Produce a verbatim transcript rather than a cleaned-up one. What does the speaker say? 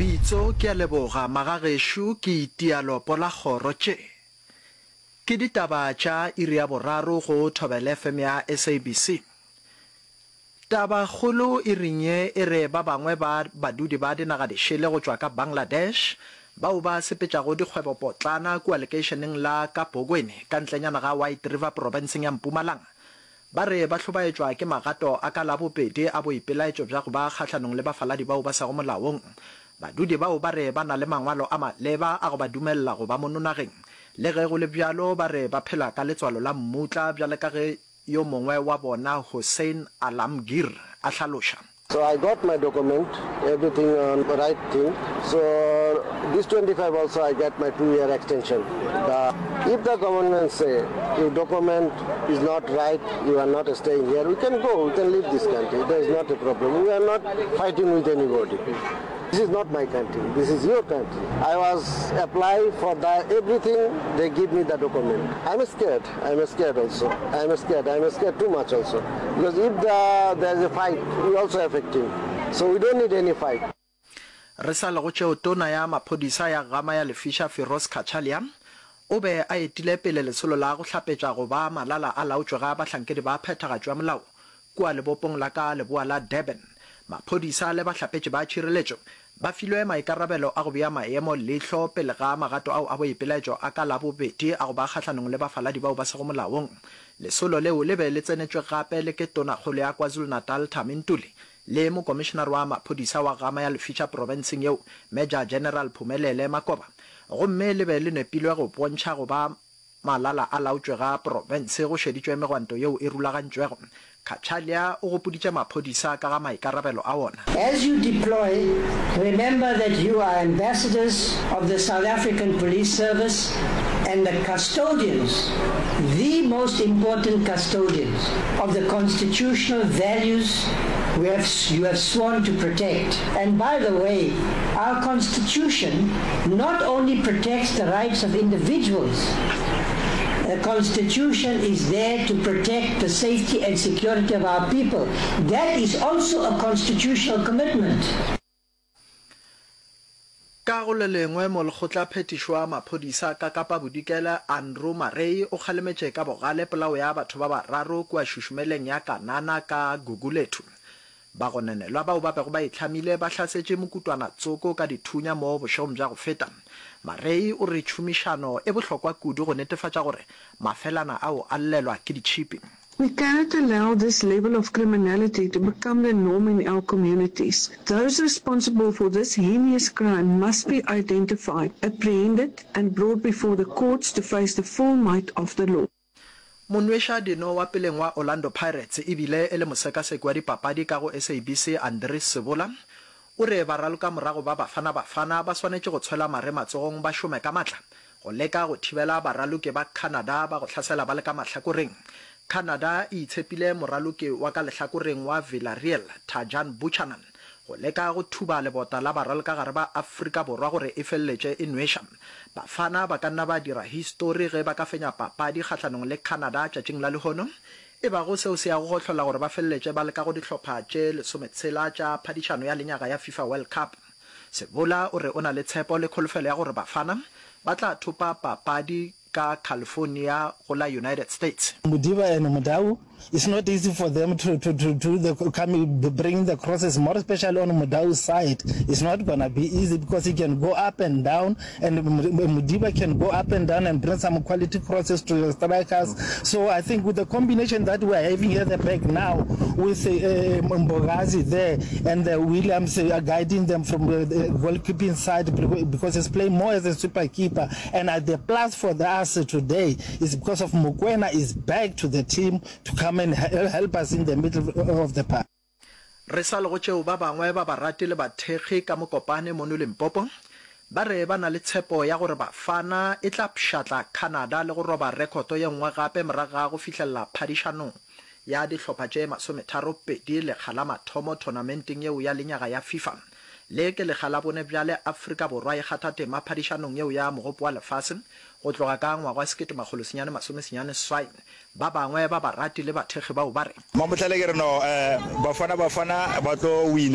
Bitso, Ke a leboga, magagešo, ke itia lopo la kgoro. Tše ke ditaba tša iri ya boraro go Thobela F M ya S A B C. Tabakgolo iring ye e re ba bangwe ba badudi ba dinaga dišele go tšwa ka Bangladesh bao ba sepetšago dikgwebopotlana kua lekeišeneng la Kabokweni ka ntlenyana ga White River profenseng ya Mpumalanga ba re ba hlobaetšwa ke magato a ka Labobedi a boipelaetšo bja go ba kgahlanong le bafaladi bao ba sego molaong. Badudi bao ba re ba na le mangwalo a maleba a go ba dumelela go ba mono nageng. Le ge go le bjalo, ba re ba phela ka letswalo la mmutla bjale ka ge yo mongwe wa bona Hossein Alamgir a hlaloša. So I got my document, everything on right thing. So this twenty-five also I get my two year extension. The, if the government say your document is not right, you are not staying here, we can go, we can leave this country. There is not a problem. We are not fighting with anybody. This is not my country, this is your country. I was apply for the everything, they give me the document. I'm scared, I'm scared also. I'm scared, I'm scared too much also. Because if the, there is a fight, we also affecting. So we don't need any fight. Re sa le go tšeo, Tona ya Maphodisa ya Gama ya Lefiša Firoz Cachalia o be a etile pele lesolo la go hlapetša go ba malala a laotšwe ga bahlankedi ba phethagatšo ya molao kua lebopong la ka leboa la Durban. Maphodisa le bahlapetši ba tšhireletšo ba filwe maikarabelo a go bea maemo leihlo pele ga magato ao a boipelaetšo a ka Labobedi a go ba kgahlanong le bafaladi bao ba sego molaong. Lesolo leo le be le tsenetšwe gape le ke Tonakgolo ya KwaZulu-Natal Thami Ntuli le Mokomišenare wa Maphodisa wa Gama ya Lefiša profenseng yeo Major General Phumelele Makoba gomme le be le nepilwe go bontšha go ba malala a laotšwe ga profense go šeditšwe megwanto yeo e rulagantšwego. Cachalia o gopoditše maphodisa ka ga maikarabelo a ona. As you deploy, remember that you are ambassadors of the South African Police Service and the custodians, the most important custodians of the constitutional values we have, you have sworn to protect. And by the way, our constitution not only protects the rights of individuals, the constitution is there to protect the safety and security of our people. That is also a constitutional commitment. Ka go le lengwe, molekgotlaphethiši wa maphodisa ka Kapa Bodikela, Andrew Murray, o kgalemetše ka bogale polao ya batho ba bararo kua šušumeleng ya Kanana ka Gugulethu. Bagononelwa bao ba bego ba itlhamile ba hlasetše mokutwana tsoko ka dithunya mo bošegong bja go feta. Murray o re tšhomišano e bohlokwa kudu go netefatša gore mafelana ao a llelwa ke ditšhipi. We cannot allow this level of criminality to become the norm in our communities. Those responsible for this heinous crime must be identified, apprehended and brought before the courts to face the full might of the law. Monweša-dino wa peleng wa Orlando Pirates e bile e le mosekaseki wa dipapadi ka go S A B C Andries Sebola o re baralokamorago ba Bafana Bafana ba swanetše go tshwela mare matsogong ba šome ka matla go leka go thibela baraloki ba Canada ba go hlasela ba le ka mahlakoreng. Canada e itshepile moraloki wa ka lehlakoreng wa Villarreal Tajon Buchanan go leka go thuba lebota la baralokagare ba Afrika Borwa gore e feleletše e nweša. Bafana ba ka nna ba dira histori ge ba ka fenya papadi kgahlanong le Canada tšatšing la lehono, e bago seo se yago go hlola gore ba feleletše ba le ka go dihlopha tše lesometshela tša phadišano ya lenyaga ya FIFA World Cup. Sebola o re o na le tshepo le kholofelo ya gore Bafana ba tla thopa papadi ka California go la United States. Modiba and Mudau, it's not easy for them to, to, to do the coming, bring the crosses, more especially on Mudau's side. It's not gonna be easy because he can go up and down, and Modiba can go up and down and bring some quality crosses to the strikers. So I think with the combination that we are having at the back now, with, uh, Mbokazi there and the Williams, uh, guiding them from the, the goalkeeping side, because he's playing more as a super keeper. And at the plus for the us today is because of Mokoena is back to the team to come and help us in the middle of the park. Re sa le go tšeo ba bangwe ba barati le bathekgi ka Mokopane mono Limpopo ba re ba na le tshepo ya gore Bafana e tla pšhatla Canada le go roba rekhoto ye nngwe gape morago ga go fihlelela phadišanong ya dihlopha tše masometharo pedi lekga la mathomo tournamenteng yeo ya lenyaga ya FIFA. Le ke lekga la bone bjale Afrika Borwa e kgatha tema phadišanong yeo ya mogopo wa lefase go tloga ka ngwaga wa sekete makgolo senyane masome senyane seswai. Ba bangwe ba barati le bathekgi bao ba re. Mamohlale ke re no, eh, Bafana Bafana ba tlo wina.